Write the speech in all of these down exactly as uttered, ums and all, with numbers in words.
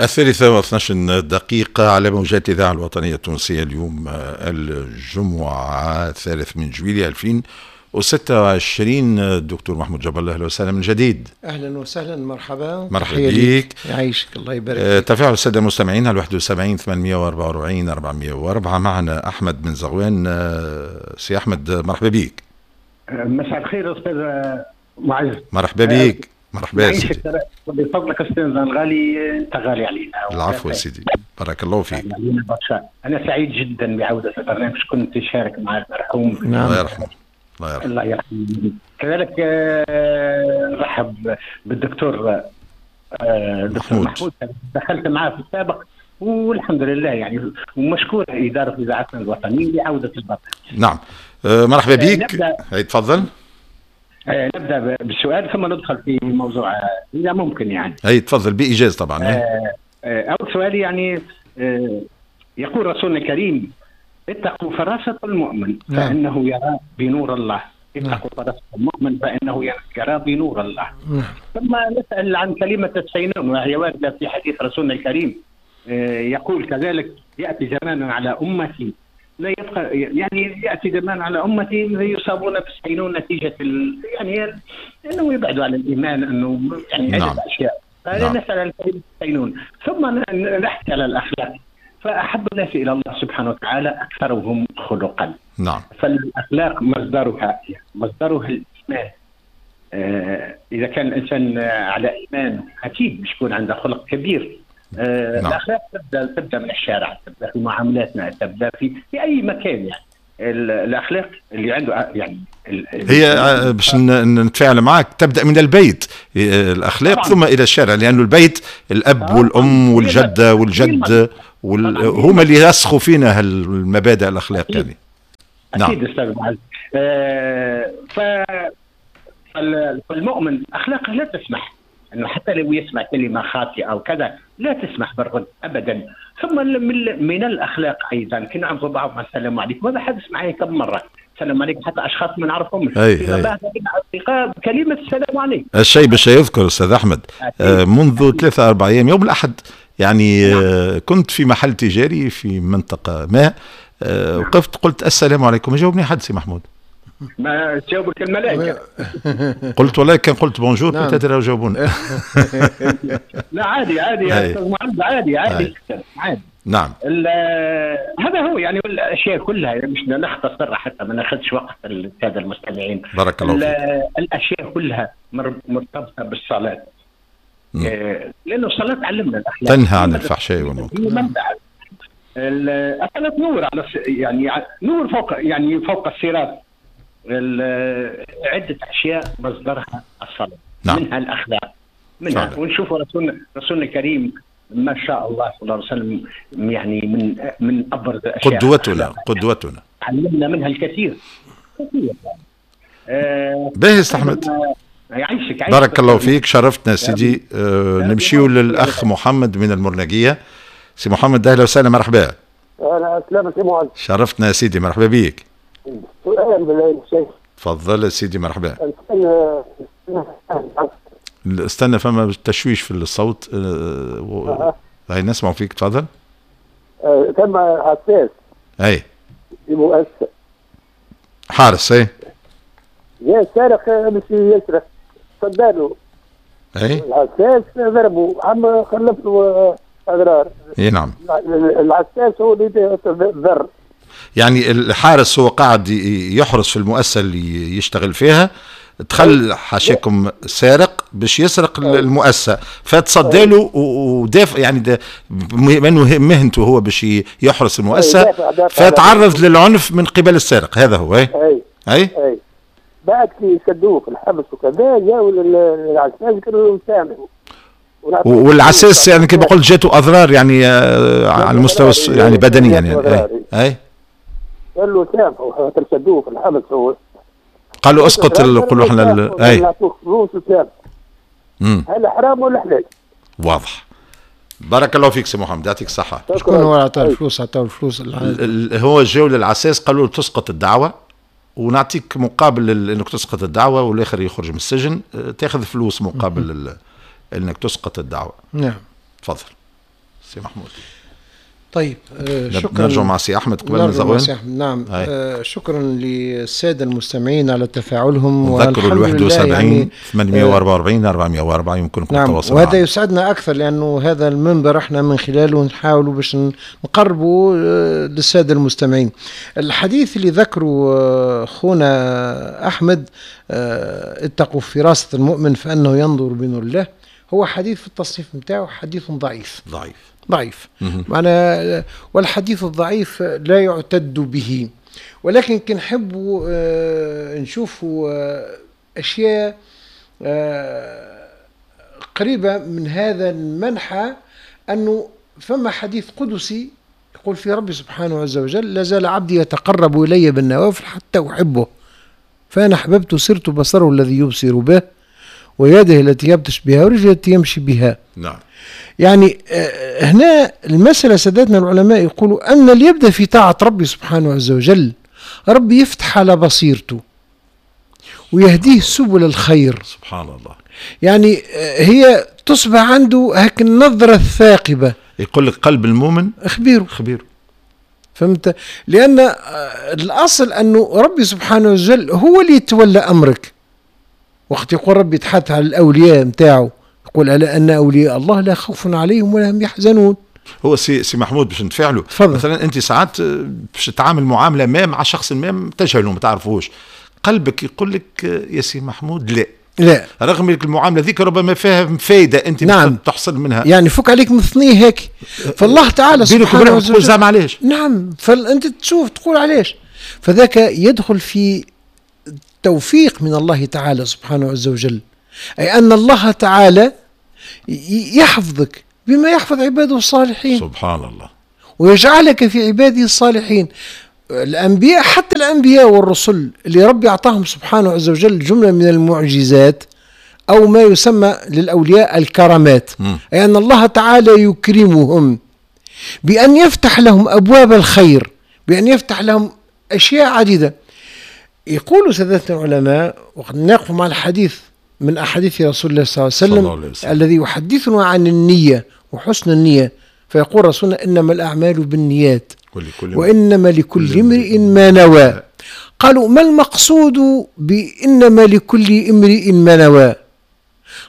الثالثة واثناش دقيقة على موجات الإذاعة الوطنية التونسية. اليوم الجمعة الثالث من جويلية ألفين وستة وعشرين. الدكتور محمود جاب الله، أهلا وسهلا من جديد. أهلا وسهلا، مرحبا. مرحبا بك. يعيشك، الله يبارك فيك. تفاعل السادة المستمعين على واحد وسبعين ثمانمائة وأربعة وأربعين أربعمائة وأربعة. معنا أحمد من زغوان. سي أحمد مرحبا بك. مساء الخير أستاذ معز. مرحبا بك. مرحبا يا سيدي. بفضلك استاذ الغالي، انت غالي علينا. العفو يا سيدي، بارك الله فيك. انا سعيد جدا بعوده البرنامج، كنت شارك مع المرحوم. نعم. الله يرحمه. الله يرحمه. الله يرحمه. كذلك رحب بالدكتور دكتور محمود، دخلت معاه في السابق والحمد لله يعني، ومشكور ادارة اذاعتنا الوطنية لعودة البرنامج. نعم، مرحبا بك. تفضل. نبدا بالسؤال ثم ندخل في موضوع اذا ممكن يعني. اي تفضل بايجاز طبعا. اول سؤال يعني، يقول رسولنا الكريم: اتقوا فراسة المؤمن فانه يرى بنور الله. اتقوا فراسة المؤمن فانه يرى بنور الله. ثم نسال عن كلمة السينون، وهي وارده في حديث رسولنا الكريم، يقول كذلك: ياتي زمان على امتي لا يبقى، يعني ياتي زمان على امتي يصابون بالسينون نتيجة ال... يعني انه يبعدوا عن الايمان، انه يعني عده نعم. اشياء. فنسال نعم. عن كلمة السينون، ثم نحكي على الاخلاق. فاحب الناس الى الله سبحانه وتعالى اكثرهم خلقا. نعم. فالاخلاق مصدرها مصدرها الايمان. آه اذا كان الانسان على ايمان اكيد باش يكون عنده خلق كبير. آه نعم. الاخلاق تبدا تبدا من الشارع، تبدا في معاملاتنا، تبدا في في اي مكان يعني. الاخلاق اللي عنده يعني هي باش نتفاعل معك، تبدا من البيت الاخلاق طبعاً. ثم الى الشارع، لانه البيت الاب والام والجدة والجد وال... هما اللي يرسخوا فينا المبادئ الاخلاق يعني. نعم اكيد استاذ معز. آه ف فالمؤمن اخلاقه لا تسمح انه حتى لو يسمع كلمة خاطئه او كذا لا تسمح بالرد ابدا. ثم من, من الاخلاق ايضا كنا نعرفوا بعضنا السلام عليكم، وهذا حدث معي كم مرة، السلام عليكم حتى اشخاص ما نعرفهمش اصدقاء كلمة السلام عليكم. الشيء باش يذكر استاذ احمد، آه منذ ثلاثة أربع ايام يوم الاحد يعني، نعم. آه كنت في محل تجاري في منطقة ما، آه نعم. وقفت قلت السلام عليكم، جاوبني حد سي محمود. ما تجاوبك الملائكة. قلت والله كان قلت bonjour peut-être جاوبونا. لا عادي عادي يا استاذ معز، عادي عادي عادي. نعم. هذا هو يعني الاشياء كلها، مش نختصر حتى ما ناخذش وقت السادة المستمعين. بارك الله فيك. الاشياء كلها مرتبطة بالصلاة. لانه الصلاة تعلمنا الاخلاق، تنهى عن الفحشاء والمنكر. الصلاة نور على يعني نور فوق يعني فوق الصراط. عدة أشياء مصدرها الصلاة. نعم. منها الأخلاق، منها فعلا. ونشوف رسولنا رسولنا الكريم ما شاء الله صلى الله عليه وسلم يعني من من أبرز الأشياء، قدوتنا قدوتنا علمنا منها الكثير كثير. آه باهي أحمد، يعيشك عيشك. بارك الله فيك، شرفتنا سيدي. آه نمشيو للأخ محمد من المرنجية. سي محمد أهلا وسهلا، مرحبا. أهلا وسهلا سي معز، شرفتنا يا سيدي، مرحبا بيك. سؤال بالله الشيخ. تفضل يا سيدي، مرحبا. استنى فما تشويش في الصوت. أه. هاي نسمع فيك، تفضل. أه تم عساس. اي في مؤسسة حارس. اي يا سارق مش يسرق، صداله. اي العساس ضربه، عم خلف له اضرار. اي نعم. العساس هو اللي ضر. يعني الحارس هو قاعد يحرس في المؤسسة اللي يشتغل فيها، دخل حاشاكم سارق باش يسرق المؤسسة، فتصدى له ودافع يعني بما مهنته هو باش يحرس المؤسسة، فتعرض للعنف من قبل السارق. هذا هو. اي اي اي, أي. بعد كي شدوه في الحبس وكذا جاوا للعساس قالوا سامحوا. والعساس يعني كما قلت جاته اضرار يعني على المستوى يعني بدنيا يعني. اي اي قال له سامحوا خاطر شدوه في الحبس هو. قالوا اسقط، نقولوا احنا ال... اي نعطوك فلوس وسامح. هل حرام ولا حلال؟ واضح. بارك الله فيك سي محمد، يعطيك الصحة. شكون هو عطاه الفلوس؟ عطاه الفلوس هو جاو للعساس قالوا له تسقط الدعوة ونعطيك مقابل انك تسقط الدعوة والاخر يخرج من السجن، تاخذ فلوس مقابل انك تسقط الدعوة. نعم. تفضل. سي محمود. طيب آه شكرا. نرجع مع سي احمد قبل ما زغوان. نعم آه شكرا للسادة المستمعين على تفاعلهم. نذكروا ال واحد وسبعين يعني ثمانمئة وأربعة وأربعين أربعمئة وأربعة يمكنكم نعم التواصل وهذا معنا. يسعدنا اكثر لانه هذا المنبر احنا من خلاله نحاولوا باش نقربوا آه للسادة المستمعين. الحديث اللي ذكره آه خونا احمد آه اتقوا فراسه المؤمن فانه ينظر بنور الله، هو حديث في التصنيف نتاعو حديث ضعيف. ضعيف ضعيف معنى، والحديث الضعيف لا يعتد به، ولكن كي نحبوا نشوفوا أشياء قريبة من هذا المنحى، أنه فما حديث قدسي يقول في ربي سبحانه عز وجل: لا زال عبدي يتقرب إلي بالنوافل حتى أحبه، فأنا أحببت صرت بصره الذي يبصر به، ويده التي يبطش بها، ورجله التي يمشي بها. نعم. يعني هنا المسألة سادتنا العلماء يقولوا أن اللي يبدأ في طاعة ربي سبحانه عز وجل ربي يفتح على بصيرته ويهديه سبل الخير. سبحان الله. يعني هي تصبح عنده هاك النظرة الثاقبة. يقول لك قلب المؤمن خبيرة خبيرة. فهمت؟ لأن الأصل أنه ربي سبحانه وجل هو اللي يتولى أمرك. وقت يقول ربي يتحدث على الأولياء متاعه يقول: ألا أن أولياء الله لا خوف عليهم ولا هم يحزنون. هو سي, سي محمود باش نتفاعلوا، مثلا أنت ساعات باش تتعامل معاملة ما مع شخص ما تجهله ما تعرفوش، قلبك يقول لك يا سي محمود لا لا، رغم المعاملة ذيك ربما فيها فايدة أنت نعم. تحصل منها، يعني فك عليك من ثنيه هيك. فالله تعالى سبحانه وتعالى زعما علاش؟ نعم، فأنت تشوف تقول علاش، فذاك يدخل في توفيق من الله تعالى سبحانه عز وجل، أي أن الله تعالى يحفظك بما يحفظ عباده الصالحين. سبحان الله. ويجعلك في عباده الصالحين. الأنبياء، حتى الأنبياء والرسل اللي ربي أعطاهم سبحانه عز وجل جملة من المعجزات أو ما يسمى للأولياء الكرامات، م. أي أن الله تعالى يكرمهم بأن يفتح لهم أبواب الخير، بأن يفتح لهم أشياء عديدة. يقول سادتنا العلماء، وقد نقف مع الحديث من أحاديث رسول الله صلى الله عليه وسلم, الله عليه وسلم الذي يحدثنا عن النية وحسن النية، فيقول رسولنا: إنما الأعمال بالنيات وإنما لكل امرئ ما نوى. قالوا: ما المقصود بإنما لكل امرئ ما نوى؟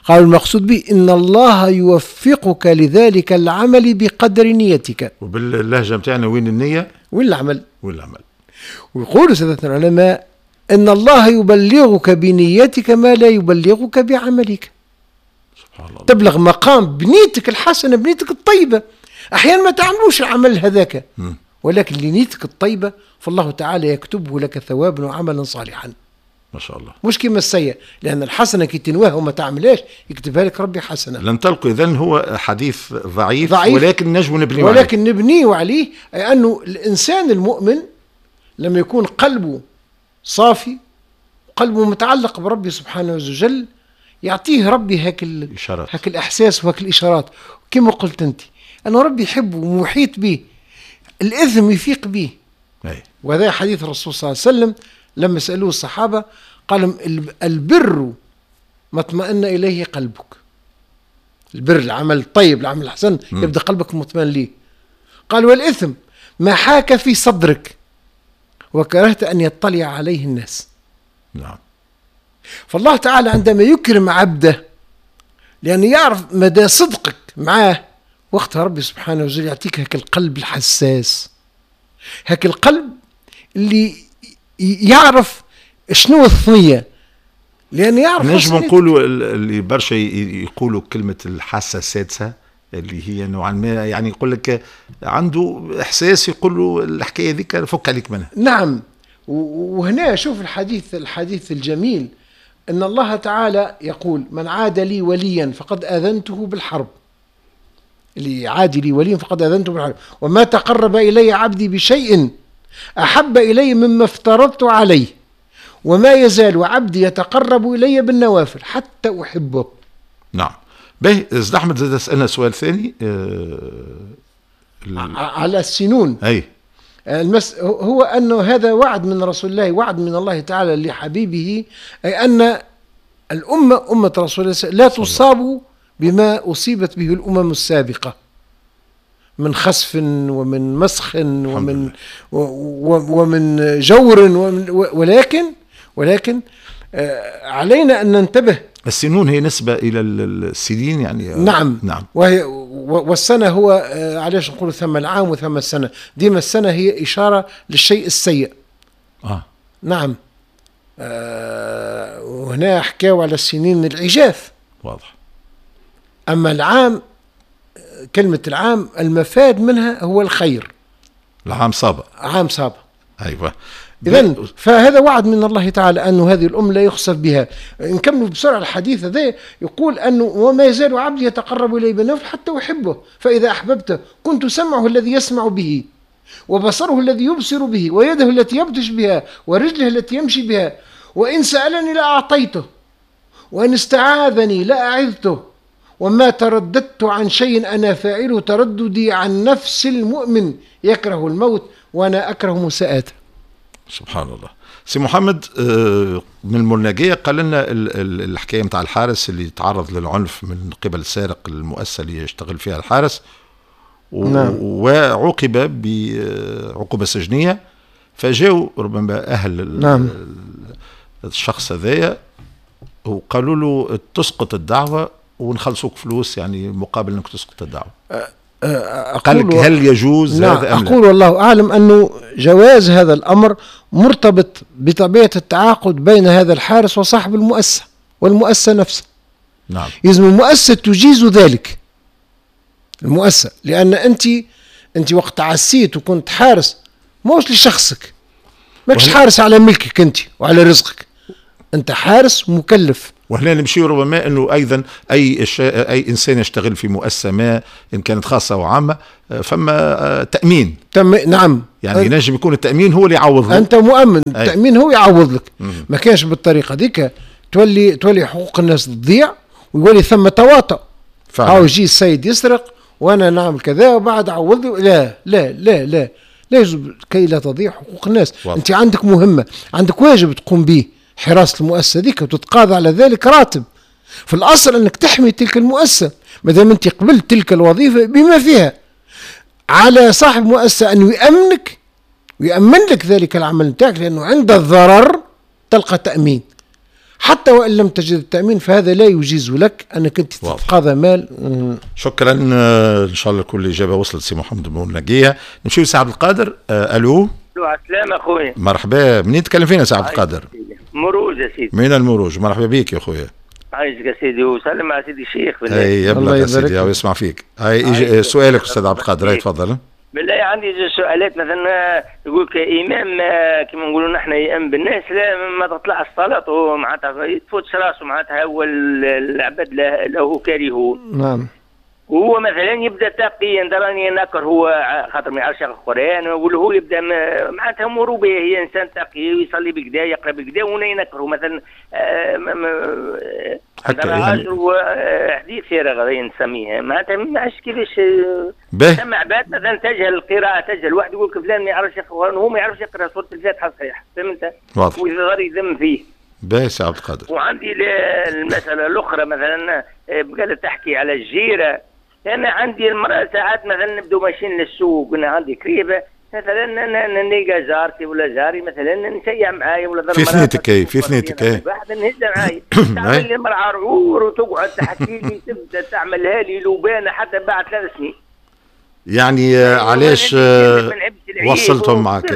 قالوا: المقصود به إن الله يوفقك لذلك العمل بقدر نيتك. وباللهجة متاعنا وين النية؟ وين العمل؟ وين العمل. ويقول سادتنا العلماء إن الله يبلغك بنيتك ما لا يبلغك بعملك. سبحان الله. تبلغ مقام بنيتك الحسنة، بنيتك الطيبة. أحيانا ما تعملوش العمل هذاك، ولكن لنيتك الطيبة فالله تعالى يكتبه لك ثوابا وعملا صالحا. ما شاء الله. مش كما السيء، لأن الحسنة كي تنواها وما تعملهاش يكتبها لك ربي حسنة. لنطلق إذن هو حديث ضعيف, ضعيف ولكن نجم نبنيه عليه. ولكن نبنيه عليه، أي أنه الإنسان المؤمن لما يكون قلبه صافي قلبه متعلق بربي سبحانه وجل يعطيه ربي هاك هاك الإحساس وهاك الإشارات. كما قلت أنت أن ربي يحبه ومحيط به، الإثم يفيق به. أي. وهذا حديث الرسول صلى الله عليه وسلم لما سألوه الصحابة قال البر ما اطمأن إليه قلبك. البر العمل الطيب العمل الحسن يبدأ قلبك مطمئن ليه. قال والإثم ما حاك في صدرك وكرهت أن يطلع عليه الناس. نعم. فالله تعالى عندما يكرم عبده لأنه يعرف مدى صدقك معاه، وقتها ربي سبحانه وتعالى يعطيك هاك القلب الحساس، هاك القلب اللي يعرف شنو الثنية، لأن يعرف. نجم نقولوا اللي برشا يقولوا كلمة الحاسة السادسة اللي هي نوعا ما يعني يقول لك عنده إحساس يقول له الحكاية ذيك فك عليك منها. نعم. وهنا شوف الحديث الحديث الجميل أن الله تعالى يقول من عاد لي وليا فقد آذنته بالحرب. اللي عادي لي وليا فقد آذنته بالحرب، وما تقرب إلي عبدي بشيء أحب إلي مما افترضت عليه، وما يزال عبدي يتقرب إلي بالنوافل حتى أحبه. نعم. باهي زد أحمد زاد سألنا سؤال ثاني أه على السنون. أي المس... هو أنه هذا وعد من رسول الله، وعد من الله تعالى لحبيبه، أي أن الأمة أمة رسول الله لا تصاب بما أصيبت به الأمم السابقة. من خسف ومن مسخ ومن ومن جور ومن، ولكن ولكن علينا أن ننتبه. السنون هي نسبة إلى السنين يعني. نعم نعم. وهي والسنة هو علاش نقول ثم العام وثم السنة، ديما السنة هي إشارة للشيء السيء. آه. نعم. آه وهنا حكاوا على السنين العجاف. واضح. أما العام، كلمة العام المفاد منها هو الخير. العام صابة. عام صابة. أيوة. إذن فهذا وعد من الله تعالى أن هذه الأم لا يخسف بها. نكمل بسرعة الحديث هذا، يقول أنه وما يزال عبدي يتقرب إلي بالنفل حتى أحبه، فإذا أحببته كنت سمعه الذي يسمع به، وبصره الذي يبصر به، ويده التي يبطش بها، ورجله التي يمشي بها، وإن سألني لأعطيته، وإن استعاذني لأعذته، وما ترددت عن شيء أنا فاعله ترددي عن نفس المؤمن يكره الموت وأنا أكره مساءاته. سبحان الله. سي محمد من المرناقية قال لنا الحكاية متاع الحارس اللي تعرض للعنف من قبل سارق المؤسسة اللي يشتغل فيها الحارس، نعم. وعوقب بعقوبة سجنية، فجاوا ربما أهل نعم. الشخص هذايا وقالوا له تسقط الدعوة ونخلصوك فلوس، يعني مقابل انك تسقط الدعوة. قال لك هل يجوز نعم. هذا أم لا؟ أقول والله أعلم أنه جواز هذا الأمر مرتبط بطبيعة التعاقد بين هذا الحارس وصاحب المؤسسة والمؤسسة نفسها. نعم. إذن المؤسسة تجيز ذلك، المؤسسة، لأن أنت أنت وقت عسيت وكنت حارس موش لشخصك، ماكش حارس على ملكك أنت وعلى رزقك، أنت حارس مكلف. وهنا نمشي ربما انه ايضا اي اي انسان يشتغل في مؤسسة ما ان كانت خاصة او عامة فما تامين. تم نعم. يعني ينجم يكون التامين هو اللي يعوض. انت مؤمن، التامين هو يعوض لك. مم. ما كانش بالطريقة ديك تولي تولي حقوق الناس تضيع ويولي ثم تواطؤ. هاو يجي السيد يسرق وانا نعمل كذا وبعد عوض لي. لا لا لا لا لا يجب كي لا تضيع حقوق الناس. واضح. انت عندك مهمة، عندك واجب تقوم به، حراسة المؤسسة ذيك، وتتقاضى على ذلك راتب. في الأصل أنك تحمي تلك المؤسسة ما دام أنت قبلت تلك الوظيفة بما فيها. على صاحب مؤسسة أن يأمنك ويأمن لك ذلك العمل نتاعك، لأنه عند الضرر تلقى تأمين. حتى وإن لم تجد التأمين فهذا لا يجيز لك أنك أنت تتقاضى مال. شكرا، إن شاء الله كل إجابة وصلت سي محمد بن نقية. نمشيو لسي عبد القادر. ألو. ألو، على السلامة أخويا. مرحبا، منين تكلم فينا سي عبد القادر؟ مروج يا سيدي. من المروج، مرحبا بك يا خويا. عايشك يا سيدي، وسلم على سيدي الشيخ بالله. اي يبلغ يا سيدي ويسمع فيك. هاي سؤالك استاذ عبد القادر، تفضل. بالله عندي زوج سؤالات. مثلا يقول لك امام كما نقولوا نحن يأم بالناس، لا ما تطلعش صلاته معناتها تفوتش راسه، معناتها هو العباد له كارهون. نعم. وهو مثلا يبدا تقي راني نكر هو خاطر ما يعرفش يقرا القران، ولا هو يبدا معناتها اموره باهيه، انسان تقي ويصلي بكدا يقرا بكدا، وانا ينكره مثلا. حتى يعني حديث فارغ هذا نسميه، معناتها ما عرفتش كيفاش. ثم عباد مثلا تجهل القراءة، تجهل واحد يقول لك فلان ما يعرفش يقرا القران وهو ما يعرفش يقرا سورة الفاتحة صحيح، فهمت؟ واضح. ويظهر يذم فيه. باهي سي عبد القادر. وعندي المسألة الأخرى مثلا قالت تحكي على الجيرة. أنا عندي المرأة ساعات مثلا نبدو ماشيين للسوق، أنا عندي كريبة مثلا نلقى جارتي ولا جاري مثلا نشيع معايا ولا في ثنيتك اي في ثنيتك اي واحد نهزها معايا تعمل لي المرأة عرعور وتقعد تحكي لي، تبدا تعملها لي لبانة حتى بعد ثلاث سنين. يعني علاش وصلتهم معك؟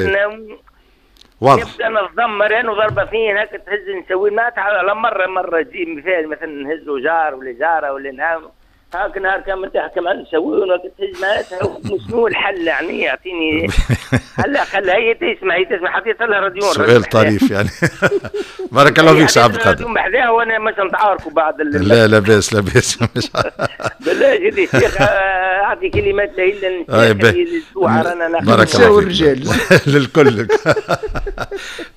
واضح. نبدا نتذمر انا وضربه فين هكا تهز نسوي معناتها على مرة مرة تجي مثال مثلا نهزوا جار ولا جاره ولا نهار هاك نهار كامل تحكم على نسوي تهز معناتها. شنو الحل يعني؟ يعطيني هلا خلها هي تسمع، هي تسمع حطيت لها راديون. سؤال طريف يعني. بارك الله فيك سي عبد القادر. بحذاها وانا مش نتعاركوا بعد. لا لا باس لا باس. بالله جدي الشيخ اعطي كلمات لهن. بارك الله فيك الرجال للكل.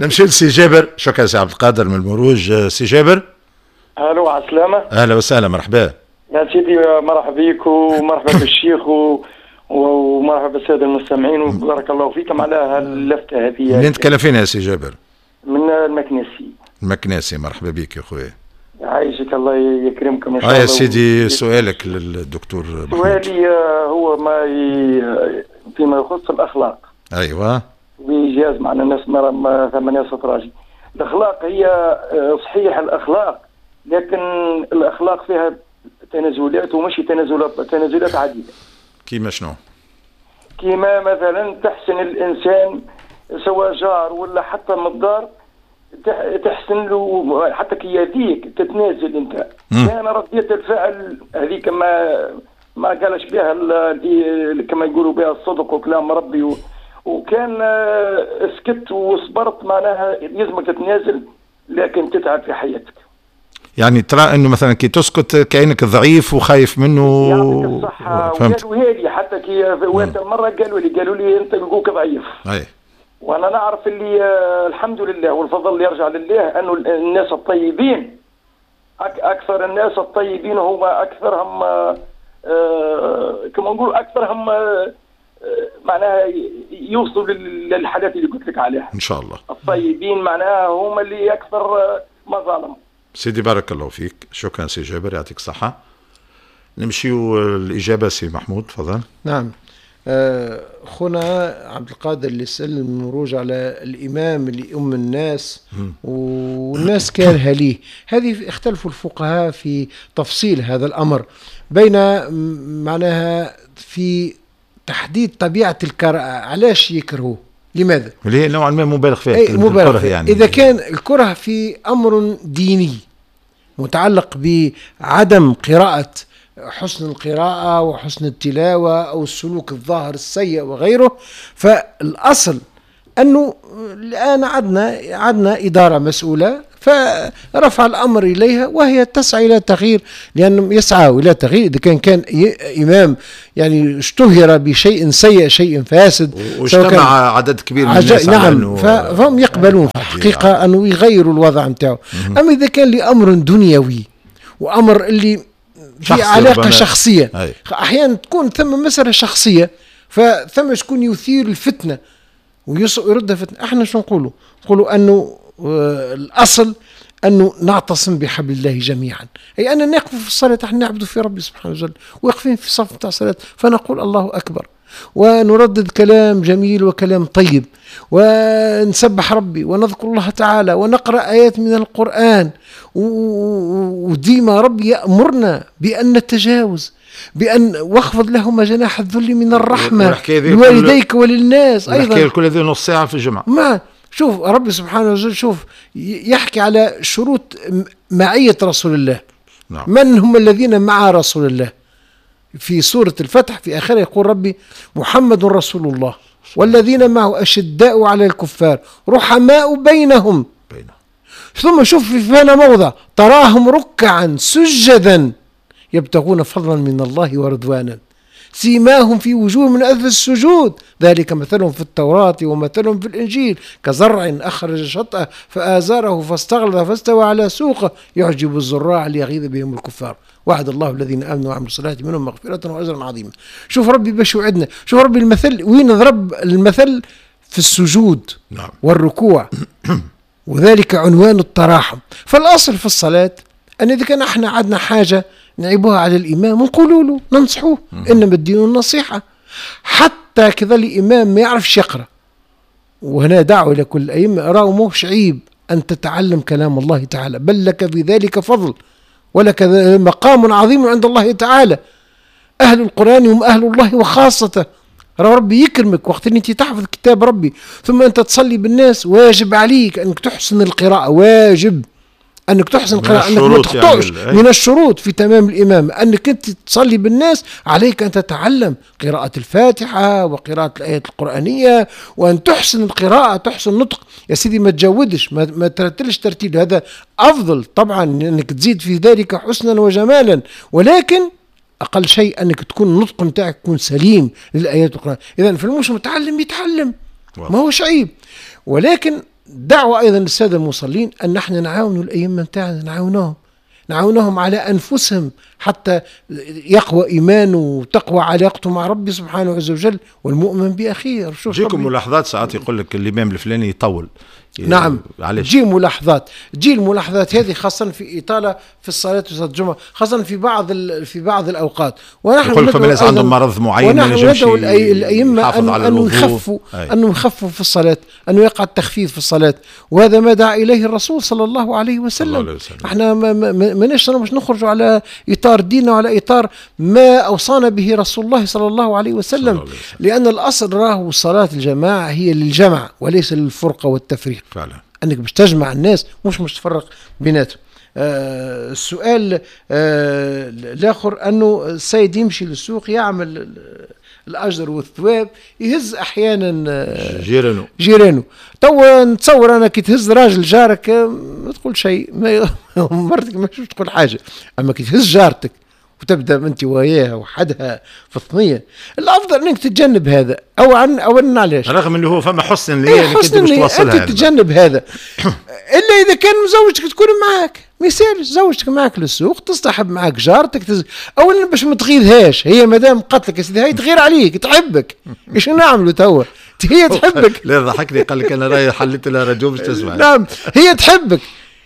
نمشي لسي جابر. شكرا سي عبد القادر من المروج. سي جابر. الو، على السلامة. اهلا وسهلا، مرحبا يا سيدي. مرحبا بك ومرحبا بالشيخ و... ومرحبا بالساده المستمعين، وبارك الله فيكم على هاللفته هذه. منين تكلم فينا يا سي جابر؟ من المكناسي. المكناسي، مرحبا بك يا خويا. يعيشك، الله يكرمكم ان شاء الله. يا سيدي سؤالك للدكتور محمود. سؤالي هو ما ي... فيما يخص الاخلاق. ايوه. بإيجاز معنا الناس ثمانية سطراجي. الاخلاق هي صحيح الاخلاق، لكن الاخلاق فيها تنازلات، ومش تنازلات تنازلات عديدة. كيما شنو؟ كيما مثلا تحسن الانسان سواء جار ولا حتى من الدار، تحسن له حتى كي يديك تتنازل انت. كان ردية الفعل هذيك ما ما قالش بها كما يقولوا بها الصدق وكلام ربي و... وكان سكت وصبرت، معناها يلزمك تتنازل لكن تتعب في حياتك. يعني ترى انه مثلا كي تسكت كانك ضعيف وخايف منه. يعطيك الصحة. وقالوا لي حتى كي وقت المرة قالوا لي قالوا لي انت لقوك ضعيف. اي. وانا نعرف اللي الحمد لله والفضل يرجع لله انه الناس الطيبين اكثر الناس الطيبين هما اكثرهم كما نقول اكثرهم معناها يوصلوا للحالات اللي قلت لك عليها. ان شاء الله. الطيبين معناها هما اللي اكثر مظالم. سيدي بارك الله فيك، شكرا سي جابر، يعطيك الصحة. نمشيو الإجابة سي محمود، تفضل. نعم. خونا عبد القادر اللي سأل المروج على الإمام اللي أم الناس والناس كارهة ليه، هذه اختلفوا الفقهاء في تفصيل هذا الأمر، بين معناها في تحديد طبيعة الكراهة، علاش يكرهوه، لماذا؟ اللي هي نوعا ما مبالغ فيها. مبالغ فيها يعني. إذا كان الكره في أمر ديني متعلق بعدم قراءة، حسن القراءة وحسن التلاوة أو السلوك الظاهر السيء وغيره، فالأصل أنه الآن عندنا عندنا إدارة مسؤولة، فرفع الأمر إليها وهي تسعى إلى تغيير، لأنهم يسعوا إلى تغيير. إذا كان كان إمام يعني اشتهر بشيء سيء، شيء فاسد، واجتمع عدد كبير من الناس، نعم، فهم يقبلون في الحقيقة أنه يغيروا الوضع نتاعو. أما إذا كان لأمر دنيوي وأمر اللي في علاقة شخصية، أحيانا تكون ثم مسألة شخصية، فثم شكون يثير الفتنة ويردها فتنة. احنا شو نقولوا؟ نقولوا أنه الأصل أنه نعتصم بحبل الله جميعا، أي أن نقف في الصلاة، احنا نعبد في ربي سبحانه وتعالى، واقفين في صف تاع الصلاة، فنقول الله أكبر ونردد كلام جميل وكلام طيب، ونسبح ربي ونذكر الله تعالى ونقرأ آيات من القرآن، وديما ربي يأمرنا بأن نتجاوز، بأن واخفض لهما جناح الذل من الرحمة لوالديك وللناس أيضا. كل هذه نص ساعة في الجمعة. ما شوف ربي سبحانه وتعالى، شوف يحكي على شروط معية رسول الله. نعم. من هم الذين مع رسول الله؟ في سورة الفتح في آخره يقول ربي محمد رسول الله والذين معه أشداء على الكفار رحماء بينهم. بينهم. ثم شوف في فانا موضع تراهم ركعا سجدا يبتغون فضلا من الله ورضوانا سيماهم في وجوههم من أثر السجود ذلك مثلهم في التوراة ومثلهم في الإنجيل كزرع أخرج شطأه فآزره فاستغلظ فاستوى على سوقه يعجب الزراع ليغيظ بهم الكفار وعد الله الذين آمنوا وعملوا الصالحات منهم مغفرة وأجرا عظيما. شوف ربي باش وعدنا، شوف ربي المثل وين ضرب المثل في السجود. نعم. والركوع وذلك عنوان التراحم. فالأصل في الصلاة أن إذا كان احنا عندنا حاجة نعيبوها على الإمام ونقولوا له ننصحوه، إنما الدين النصيحة. حتى كذا الإمام ما يعرفش يقرأ، وهنا دعوة إلى كل الأئمة، راهو مش عيب أن تتعلم كلام الله تعالى، بل لك في ذلك فضل ولك مقام عظيم عند الله تعالى. أهل القرآن هم أهل الله وخاصته، راه ربي يكرمك وقت اللي أنت تحفظ كتاب ربي ثم أنت تصلي بالناس. واجب عليك أنك تحسن القراءة، واجب أنك تحسن القراءة، أنك ما تخطئش. يعني من الشروط في تمام الإمامة أنك أنت تصلي بالناس، عليك أن تتعلم قراءة الفاتحة وقراءة الآيات القرآنية، وأن تحسن القراءة، تحسن النطق. يا سيدي ما تجودش، ما, ما ترتلش ترتيل، هذا أفضل طبعا أنك تزيد في ذلك حسنا وجمالا، ولكن أقل شيء أنك تكون النطق نتاعك يكون سليم للآيات القرآنية. إذا فالمش متعلم يتعلم، ما هوش عيب. ولكن دعوة أيضا للسادة المصلين أن نحن نعاون الأئمة نتاعنا، نعاونهم نعاونهم على أنفسهم حتى يقوى إيمانه وتقوى علاقته مع ربي سبحانه عز وجل، والمؤمن بأخيه. تجيكم ملاحظات ساعات يقول لك الإمام الفلاني يطول، نعم علاش تجي ملاحظات، تجي الملاحظات هذه خاصة في إطالة في الصلاة وصلاة الجمعة، خاصة في بعض في بعض الأوقات. ونحن يقول فما ناس عندهم مرض معين ما ينجمش الأئمة أنه يخفوا أنه يخفوا في الصلاة، أنه يقع التخفيف في الصلاة، وهذا ما دعا إليه الرسول صلى الله عليه وسلم. احنا ما ماناش مش نخرجوا على إطار ديننا وعلى إطار ما أوصانا به رسول الله صلى الله عليه وسلم، الله عليه وسلم. لأن الأصل راهو صلاة الجماعة هي للجمع وليس للفرقة والتفريق. فعلا أنك باش تجمع الناس مش مش تفرق بيناتهم. آه السؤال آه الآخر أنه السيد يمشي للسوق يعمل الأجر والثواب، يهز أحيانا آه جيرانه جيرانه. تو نتصور أنا كي تهز راجل جارك ما تقول شيء، مرتك ما تقول حاجة، أما كي تهز جارتك وتبدا انت وياها وحدها في الثنية، الافضل انك تتجنب هذا. او عن اولا علاش؟ رغم انه هو فما حسن نيه إيه حسن نيه انت يعني. تتجنب هذا الا اذا كان زوجتك تكون معاك، ما يسالش زوجتك معاك للسوق، تصطحب معاك جارتك تز... اولا باش ما تغيظهاش، هي مادام قتلك يا سيدي هي تغير عليك تحبك، ايش نعملوا توا؟ هي تحبك. لا ضحكني قال لك انا راهي حليت لها راديو باش تسمع. نعم هي تحبك،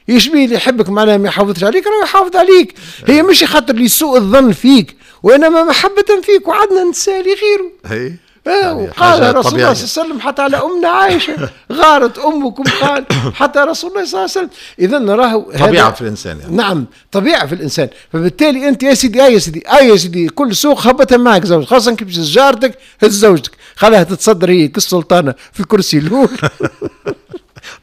يشبيه اللي يحبك معناها ما يحافظش عليك، راه يحافظ عليك. هي مش خاطر لسوء الظن فيك، وانما محبة فيك، وعندنا نساء لغيره. هي آه وقال رسول الله صلى الله عليه وسلم حتى على امنا عائشة غارت امكم، قال حتى رسول الله صلى الله عليه وسلم. اذا نراه طبيعة في الانسان يعني. نعم طبيعة في الانسان. فبالتالي انت يا سيدي يا سيدي يا سيدي كل سوق هبتها معك زوج، خاصة كي تهز جارتك هز زوجتك، خلاها تتصدر هي كالسلطانه في الكرسي الاول.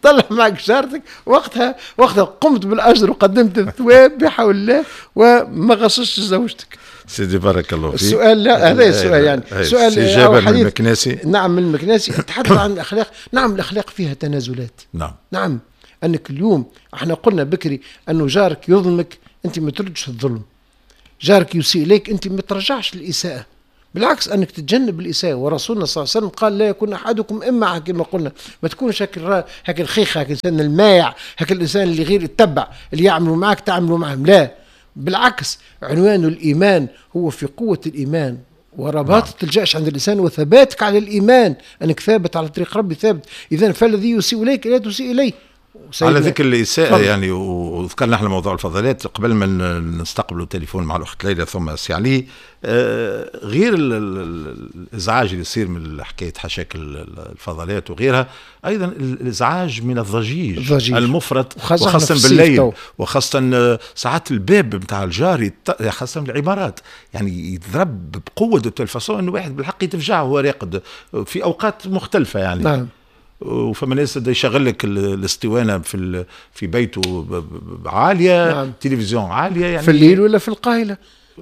طلع معك جارتك وقتها، وقتها قمت بالاجر وقدمت الثواب بحول الله وما غصشتش زوجتك. سيدي بارك الله فيك. السؤال لا هذا السؤال يعني سؤال جابر من المكناسي. نعم من المكناسي تحدث عن الاخلاق. نعم الاخلاق فيها تنازلات. نعم نعم انك اليوم احنا قلنا بكري انه جارك يظلمك انت ما تردش الظلم، جارك يسيء اليك انت ما ترجعش الاساءة، بالعكس انك تتجنب الاساءة. ورسولنا صلى الله عليه وسلم قال لا يكون احدكم اما كما قلنا، ما تكونش هاك هاك الخيخه، هاك الانسان المايع، هاك الانسان اللي غير يتبع، اللي يعملوا معك تعملوا معهم. لا بالعكس، عنوان الايمان هو في قوة الايمان ورباطة نعم. الجأش عند الانسان وثباتك على الايمان، انك ثابت على طريق ربي ثابت. اذا فالذي يسيء اليك لا تسيء اليه. على ذكر الإساءة يعني، وذكرنا احنا موضوع الفضلات قبل ما نستقبلوا التليفون مع الأخت ليلى ثم سي علي، آه غير الإزعاج اللي يصير من حكاية حشاك الفضلات وغيرها، أيضا الإزعاج من الضجيج, الضجيج. المفرط، وخاصة بالليل، وخاصة ساعات الباب نتاع الجار، خاصة العمارات يعني يتضرب بقوة de telle façon أنه واحد بالحق يتفجع وهو راقد في أوقات مختلفة يعني. نعم. وفما ناس يشغل لك الاسطوانة في في بيته عالية. نعم. تلفزيون عالية يعني في الليل ولا في القايله.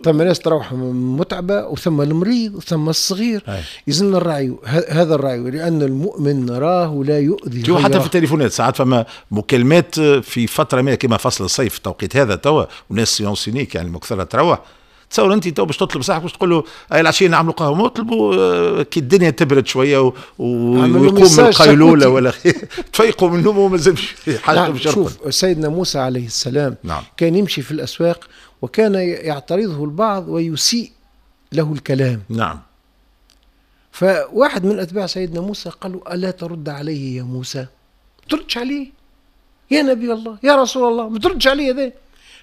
ثم ناس تروح متعبة، وثم المريض، وثم الصغير. يلزمنا الرعي هذا الرعي، لان المؤمن نراه لا يؤذي. حتى في التليفونات ساعات فما مكالمات في فترة ما كما فصل الصيف التوقيت هذا توا، وناس séance unique يعني مكثره تروح. تصور انت تو باش تطلب صاحبك باش تقول له اي العشية نعملوا قهوة، ما اطلبوا كي الدنيا تبرد شوية و... ويقوم من القيلوله ولا تفيقوا من النوم وما زالش حاجة. نعم. شوف سيدنا موسى عليه السلام. نعم. كان يمشي في الاسواق وكان يعترضه البعض ويسيء له الكلام. نعم. فواحد من اتباع سيدنا موسى قال له الا ترد عليه يا موسى؟ تردش عليه يا نبي الله يا رسول الله، ما تردش عليه هذا.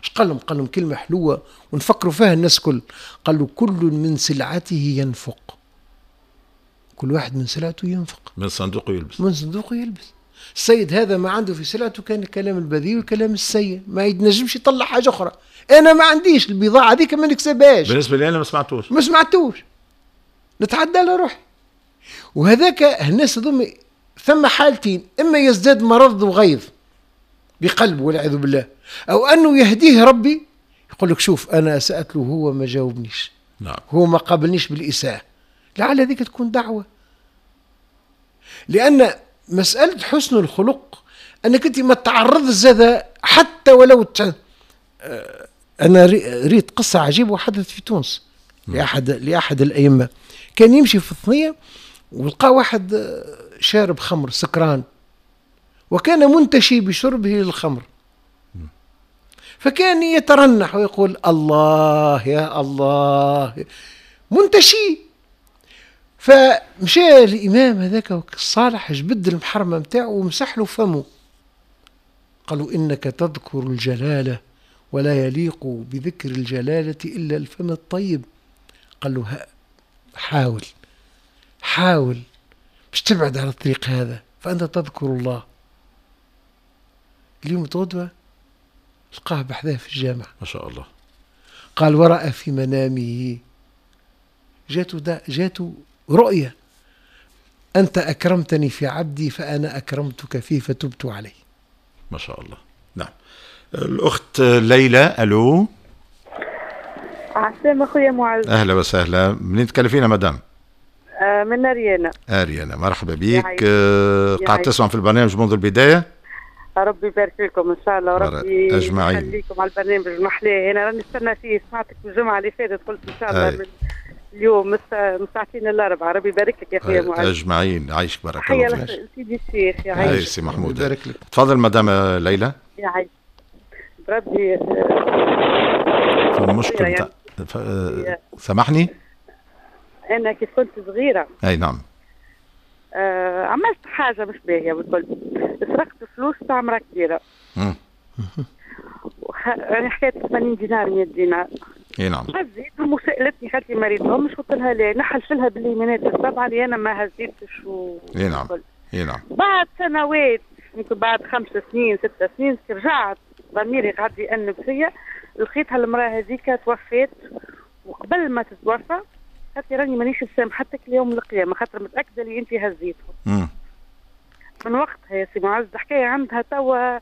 اش قال لهم؟ قال لهم كلمة حلوة ونفكروا فيها الناس كل. قال له كل من سلعته ينفق، كل واحد من سلعته ينفق، من صندوقه يلبس، من صندوقه يلبس. السيد هذا ما عنده في سلعته كان الكلام البذيء والكلام السيء، ما ينجمش يطلع حاجة أخرى. أنا ما عنديش البضاعة هذيك ما نكسبهاش. بالنسبة لي أنا ما سمعتوش، ما سمعتوش، نتعدى على روحي. وهذاك الناس هذوما ثم حالتين، إما يزداد مرض وغيظ بقلبه والعياذ بالله، أو أنه يهديه ربي يقول لك شوف أنا سألت له هو ما جاوبنيش. نعم. هو ما قابلنيش بالإساءة، لعل هذيك تكون دعوة. لأن مسألة حسن الخلق أنك أنت ما تعرضش هذا حتى ولو ت... أنا ريت قصة عجيبة وحدثت في تونس لأحد لأحد الأئمة. كان يمشي في الثنية ولقى واحد شارب خمر سكران، وكان منتشي بشربه للخمر، فكان يترنح ويقول الله يا الله، منتشي. فمشى الإمام هذاك الصالح جبد المحرمة نتاعو ومسح له فمه، قالوا إنك تذكر الجلالة ولا يليق بذكر الجلالة إلا الفم الطيب. قال له حاول حاول باش تبعد على الطريق هذا فأنت تذكر الله. اليوم غدوة لقاه بحذاه في الجامع ما شاء الله. قال ورأى في منامه، جاته جاته رؤية، أنت أكرمتني في عبدي فأنا أكرمتك فيه فتبت عليه. ما شاء الله. نعم. الأخت ليلى، ألو. عسلامة خويا معز. أهلا وسهلا، منين تكلفينا مدام؟ آه من أريانا. أريانا، مرحبا بك. آه قاعد تسمع في البرنامج منذ البداية؟ ربي يبارك لكم ان شاء الله، وربي اجمعين يخليكم على البرنامج محلاه. انا راني نستنى فيه، سمعتك الجمعة اللي فاتت قلت ان شاء الله من اليوم من ساعتين الاربعة. ربي يبارك لك يا خويا معز. اجمعين، عايشك بارك الله فيك. سيدي الشيخ يعيشك. سي محمود يبارك لك. تفضل مدام ليلى. يعيشك ربي. المشكل يعني. سامحني، انا كيف كنت صغيرة اي نعم آه عملت حاجة مش باهيه بالكل، سرقت فلوس تاع مرا كبيرة. امم وخ... يعني حكاية ثمانين دينار مية دينار. اي نعم. هزيتهم وسالتني قالت لي ما ريتهمش، قلت لها لا، نحلف لها باليمينات السبعة اللي انا ما هزيتش و... اي نعم اي نعم. بعد سنوات يمكن بعد خمس سنين ست سنين رجعت ضميري قعد يأنب فيا، لقيتها المراة هذيك توفات، وقبل ما تتوفى قالت لي راني مانيش مسامحتك ليوم القيامة خاطر متاكدة اللي انت هزيتهم. مم. من وقتها يا سي معز الحكاية عندها توا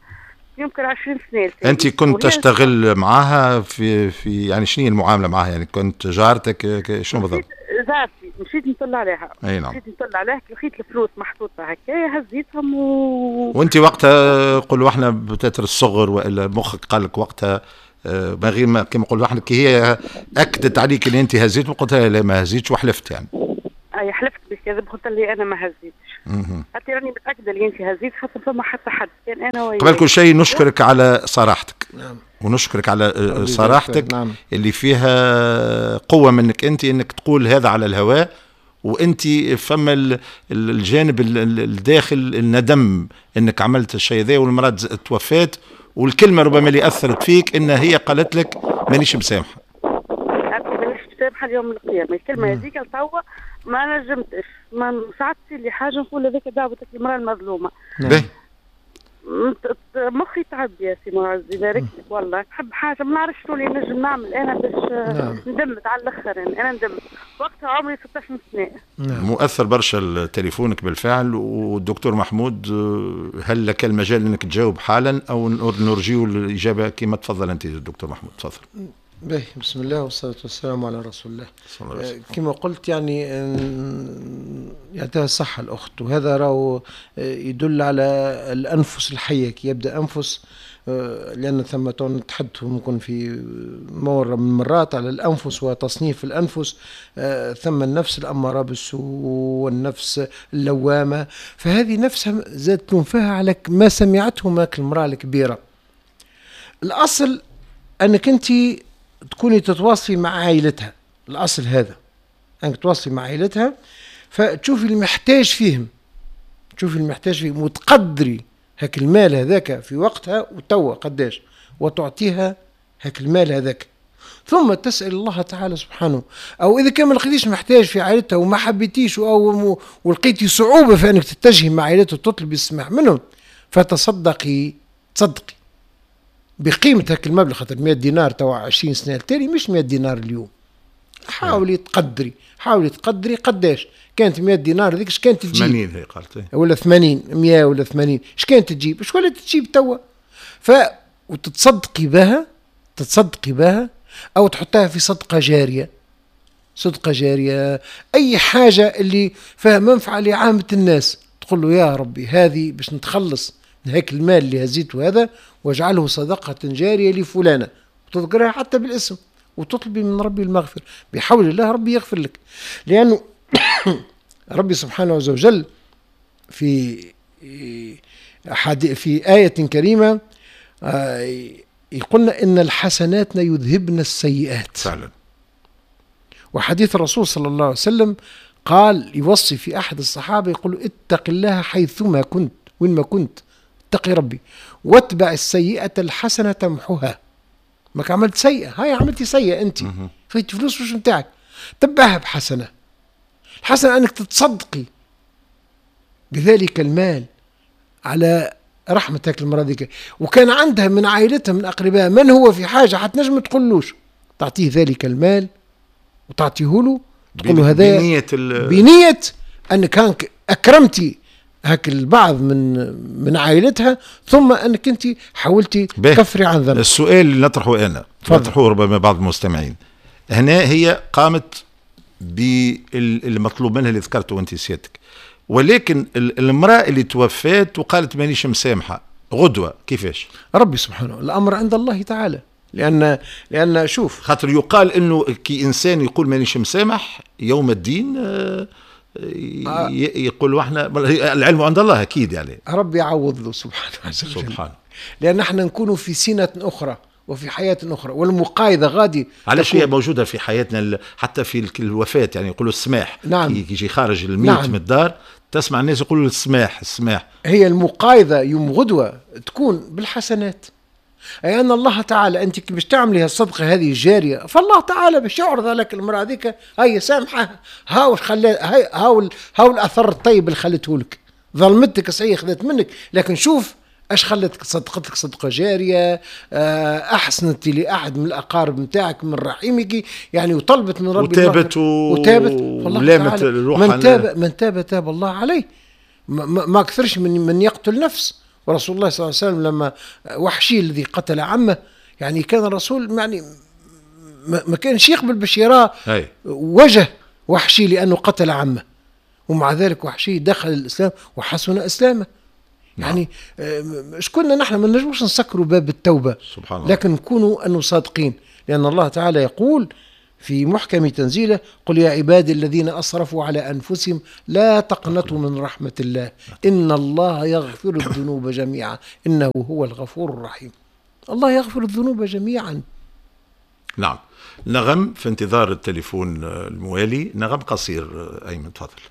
يمكن عشرين سنة. انت كنت تشتغل معاها في في يعني شنو المعاملة معاها؟ يعني كنت جارتك شنو بالضبط؟ جارتي، مشيت نطلع عليها. اي نعم. مشيت نطلع عليها لقيت الفلوس محطوطة هكايا هزيتهم و... وانت وقتها قولوا احنا بتاتر الصغر والا مخك قال لك وقتها ما غير ما كما نقولوا احنا كي هي اكدت عليك اللي انت هزيت وقلت لها لا ما هزيتش وحلفت يعني. اي حلفت بالكذب، قلت لي انا ما هزيتش. حتى راني متاكدة اللي انت هزيت خاطر فما حتى حد كان انا وياك. قبل كل شيء نشكرك على صراحتك. نعم. ونشكرك على صراحتك. نعم. اللي فيها قوة منك انت انك تقول هذا على الهواء، وانت فما الجانب الداخل الندم انك عملت الشيء ذا والمراة توفات، والكلمة ربما اللي اثرت فيك ان هي قالت لك مانيش مسامحة. مانيش مسامحة اليوم القيامة، الكلمة هذيك لتوا ما نجمتش، ما ساعات تصير لي حاجة نقول هذيك دعوتك المراة المظلومة. باهي. مخي تعب يا سي معز يبارك لك والله، نحب حاجة ما نعرفش شنو اللي نجم نعمل انا باش نعم. ندمت على الاخر يعني. انا ندمت وقتها عمري ستة عشر سنة. نعم. مؤثر برشا تليفونك بالفعل. والدكتور محمود هل لك المجال انك تجاوب حالا او نرجيو الاجابة كما تفضل انت دكتور محمود؟ تفضل. باهي، بسم الله والصلاة والسلام على رسول الله. كما قلت يعني يعطيها الصحة الأخت، وهذا راهو يدل على الأنفس الحية، كي يبدأ أنفس، لأن ثم نتحدث ممكن في مرة من المرات على الأنفس وتصنيف الأنفس، ثم النفس الأمارة بالسوء والنفس اللوامة، فهذه نفسها زادت تنفها على ما سمعته ماك المرأة الكبيرة. الأصل أنك أنت تكوني تتواصلي مع عائلتها، الأصل هذا أنك تواصلي مع عائلتها، فتشوفي المحتاج فيهم، تشوفي المحتاج فيهم وتقدري هاك المال هذاك في وقتها وتوا قداش، وتعطيها هاك المال هذاك، ثم تسأل الله تعالى سبحانه. أو إذا كان ما لقيتيش محتاج في عائلتها وما حبيتيش أو ولقيتي صعوبة في أنك تتجهي مع عائلتها وتطلبي السماح منهم، فتصدقي، تصدقي بقيمة هاك المبلغ، خاطر مية دينار توا عشرين سنة التالي مش مية دينار اليوم. حاولي تقدري، حاولي تقدري قداش كانت مية دينار هذيك، اش كانت تجيب؟ ثمانين هي قالت، ولا ثمانين، مية ولا ثمانين، اش كانت تجيب؟ اش ولا تجيب توا؟ ف وتتصدقي بها، تتصدقي بها او تحطها في صدقة جارية، صدقة جارية، اي حاجة اللي فيها منفعة لعامة الناس، تقول له يا ربي هذه باش نتخلص من هيك المال اللي هزيته هذا واجعله صدقة جارية لفلانة، وتذكرها حتى بالاسم، وتطلبي من ربي المغفرة، بحول الله ربي يغفر لك. لأنه ربي سبحانه عز وجل في في آية كريمة يقولنا إن الحسنات يذهبن السيئات. فعلا. وحديث الرسول صلى الله عليه وسلم قال يوصي في أحد الصحابة يقول اتق الله حيثما كنت، وين ما كنت اتقي ربي، واتبع السيئة الحسنة تمحها. ما عملت سيئة، هاي عملتي سيئة أنت، فايت فلوس مش متاعك، تبعها بحسنة. الحسنة أنك تتصدقي بذلك المال على رحمتك المرأة ذيك، وكان عندها من عائلتها من أقربائها من هو في حاجة حتنجم تقولوش، تعطيه ذلك المال وتعطيه له، تقول له هذا بنية, ال... بنية أنك أكرمتي هاك البعض من من عائلتها، ثم أنك أنت حاولتي تكفري عن ذنب. السؤال اللي نطرحه أنا، نطرحه ربما بعض المستمعين هنا، هي قامت بالمطلوب منها اللي ذكرته أنت سيادتك، ولكن المرأة اللي توفات وقالت مانيش مسامحة غدوة، كيفاش؟ ربي سبحانه، الأمر عند الله تعالى. لأن لأن شوف، خاطر يقال إنه كي إنسان يقول مانيش مسامح يوم الدين آه يقول احنا العلم عند الله أكيد، يعني ربي يعوض له سبحانه عز وجل. سبحانه، لأن احنا نكون في سنة أخرى وفي حياة أخرى، والمقايضة غادي علاش هي موجودة في حياتنا حتى في الوفاة، يعني يقولوا السماح. نعم. يجي خارج الميت نعم. من الدار تسمع الناس يقولوا السماح السماح. هي المقايضة يوم غدوة تكون بالحسنات، أي أن الله تعالى أنت باش تعملي هالصدقة هذه الجارية، فالله تعالى باش يعرض لك المرأة هذيك، هي سامحة، هاو خلى هاو هاو الأثر الطيب اللي خلته لك، ظلمتك صحيح خذت منك، لكن شوف اش خلتك، صدقتك صدقه جارية، احسنت لاحد من الاقارب نتاعك من رحمك يعني، وطلبت من ربي وتابت و... وتابت، والله تعالى من تاب من تاب تاب الله عليه. ما, ما اكثرش من من يقتل نفس. ورسول الله صلى الله عليه وسلم لما وحشي الذي قتل عمه، يعني كان الرسول يعني ما كانش يقبل باش يرى وجه وحشي لانه قتل عمه، ومع ذلك وحشي دخل الاسلام وحسن اسلامه. يعني شكون نحن ما نجموش نسكروا باب التوبة، سبحان الله، لكن نكونوا أنه صادقين، لأن الله تعالى يقول في محكم تنزيله: قل يا عبادي الذين أسرفوا على أنفسهم لا تقنطوا من رحمة الله إن الله يغفر الذنوب جميعا إنه هو الغفور الرحيم. الله يغفر الذنوب جميعا. نعم. نغم في انتظار التليفون الموالي، نغم قصير أيمن تفضل.